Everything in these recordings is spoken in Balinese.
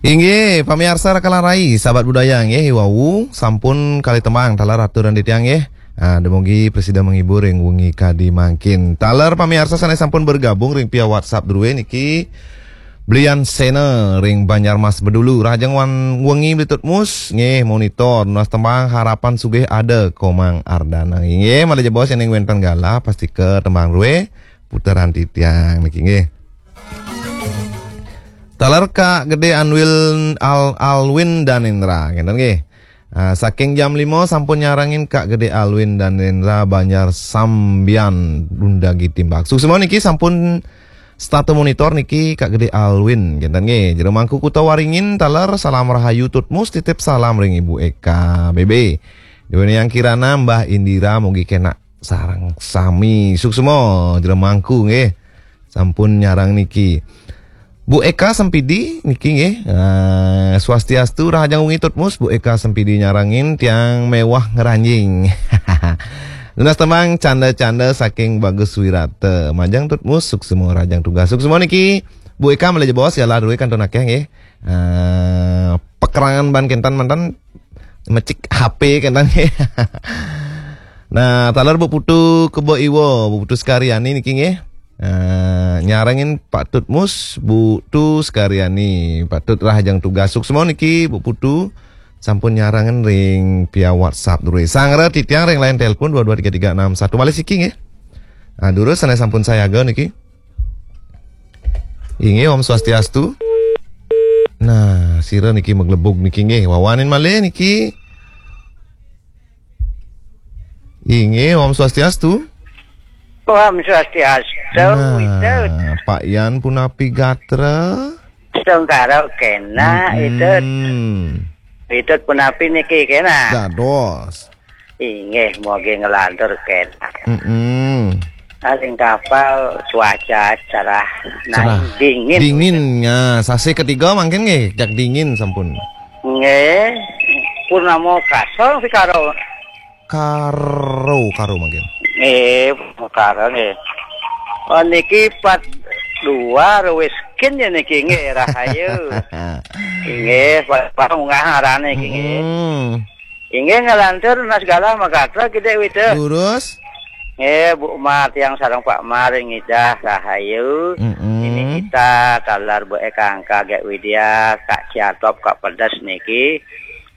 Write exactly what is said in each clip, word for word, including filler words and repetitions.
Inggih, pamiarsa Raka lan Rai, sahabat budaya nggih, wau sampun kalih tembang taler aturan titiang nggih. Ah, dumugi prasida menghibur ring wengi kadi mangkin. Taler pamiarsa sane sampun bergabung ring via WhatsApp druwe niki, Blian Sena ring Banjarmas Bedulu, rahajeng wan wengi Bli Tutmus nggih, monitor nunas tembang Harapan Sugih Ada Komang Ardana. Inggih, malih jebos yen wenten galah pastika tembang druwe puteran titiang niki nggih. Taler Kak Gede Anwil Al-, Alwin Danendra, ngenten nggih. Ah, saking jam lima sampun nyarengin Kak Gede Alwin Danendra Banjar Sambian Dundagi Timbak. Suksma niki sampun statu monitor niki Kak Gede Alwin, ngenten nggih. Jero Mangku Kuta Waringin taler salam rahayu Tutmus titip salam ring Ibu Eka B B. Deweni Yang Kirana Mbah Indira mugi kenak sareng sami. Suksma Jero Mangku nggih. Sampun nyarang niki. Bu Eka Sempidi niki nggih. Ah, swastiastu, rahajeng wengi Tutmus, Bu Eka Sempidi nyarengin tiang mewah ngranjing. Nunas tembang canda-canda saking Bagus Wirata. Majeng Tutmus, suksma rahajeng tugas. Suksma niki. Bu Eka malih jebos galah druwe kantun akeh nggih. Ah, pakerangan ban kenten manten mecik H P kenten nggih. Nah, taler Bu Putu Kebo Iwa, Bu Putu Sekaryani niki nggih. Eh, nyarengin Pak Tutmus, Bu Tu Sekaryani, Pak Tut rahajeng tugas. Suksma niki Bu Putu sampun nyarengin ring via WhatsApp druwe. Sanggra titiang ring line telepon dua dua tiga tiga enam satu. Malih siki nggih. Nah, durus sane sampun sayaga niki. Inggih, Om Swastiastu. Nah, sira niki maglebug niki nggih. Wawanin malih niki. Inggih, Om Swastiastu. Om Swastiastu, nah, Pak Yan punapi gatra? Sengkara kena, mm-mm. Itu punapi niki kena? Dados. Inggih, mogi ngelantur kena. Mm-mm. Aling kapal cuaca cerah, cerah. Naik dingin. Dingin, ya. Sasi ketiga mangkin nggih, jak dingin sampun. Nggih, purnama kasong si karo. Karo, karo mangkin. Nggih, karo nggih. Oh, niki pat dua ruwis kin ya niki nggih, rahayu. Nggih, pa-, pa-, munggah arane niki nggih. Mm-mm. Inggih, ngelantur nas galah magatra Gede Wida. Lurus. Nggih, Bu Mar tiang sareng Pak Mar ngidah rahayu. Mm-mm. Ini kita taler Bu Eka Angka Gek Widya, Kak Ciatop, Kak Pedes niki.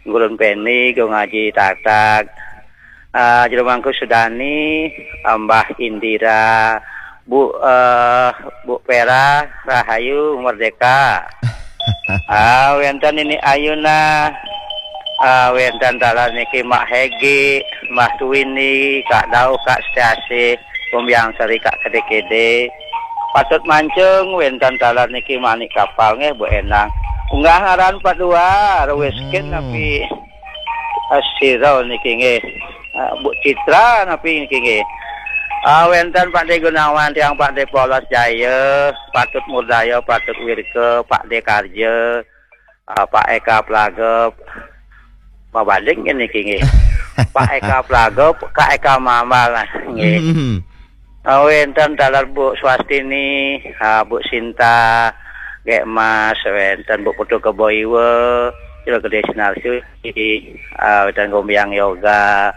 Gurun Peni, Gung Aji Tatak. Ah, Jero Mangku Sudani, Mbah Indira, Bu, eh, Bu Pera, rahayu, merdeka. Ah, wenten ini Ayuna, ah, wenten taler niki Mak Hegi, Mbah Tuwini, Kak Dau, Kak Setiasih, Kumbiang Seri, Kak Kede-kede. Patut Mancung, wenten taler niki Manik Kapal nggih, Bu Endang. Unggah ngaran pat dua, ruwis kin, hmm, napi, eh, sira niki nggih. Eh, Bu Citra napi niki nggih. Ah, wenten Pak De Gunawan, tiang Pak De Polos Jaya, Patut Murdaya, Patut Wirke, Pak De Karja, ah, Pak Eka Plaga, mabanding niki nggih. Pak Eka Plaga, Kak Eka Mamal nggih. Hmm. Ah, wenten taler Bu Swastini, ah, Bu Sinta, Gek Mas, wenten Bu Putu Kebo Iwa, Jero Gede Sinar Suci, ah, wenten Gombiang Yoga,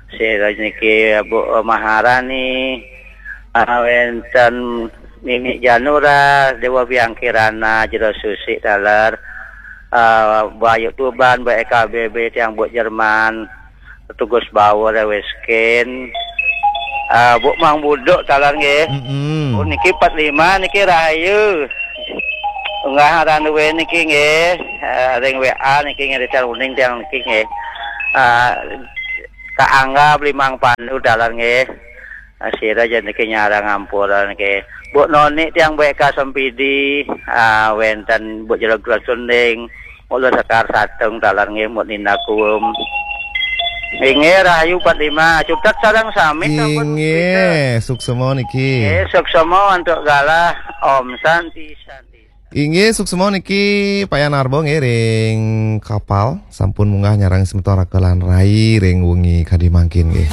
sira niki Bu Maharani, ah, wenten Mimi Janura, Dewa Biang Kirana, Jero Susi taler, ah, Bayu Tuban, Bu Eka B B, tiang Bu Jerman, Tugus Bawor, Weskin, ah, Bu Mang Buduk taler nggih. Mm-mm. Oh, niki empat lima niki rahayu. Unggah aran duwe niki nggih, eh, ring W A niki nggih, Richard Uning tiang niki nggih. Ah, Kak Angga Blimang Pandu taler nggih. Ah, sira ja niki nyarang ampura niki. Bu Noni tiang Bu Eka Sempidi, ah, wenten Bu Jelog Sunding, Mula Sekar Satung taler nggih, Bu Nina Kuum. Inggih, rahayu empat lima. Cutet sareng sami sampun. Inggih, suksema niki. Nggih, suksema antuk galah. Om Santi, Santi. Inggih, suksema niki Pak Yan Arbo nggih ring Kapal, sampun munggah nyarang semeton Raka lan Rai ring wengi kadi mangkin nggih.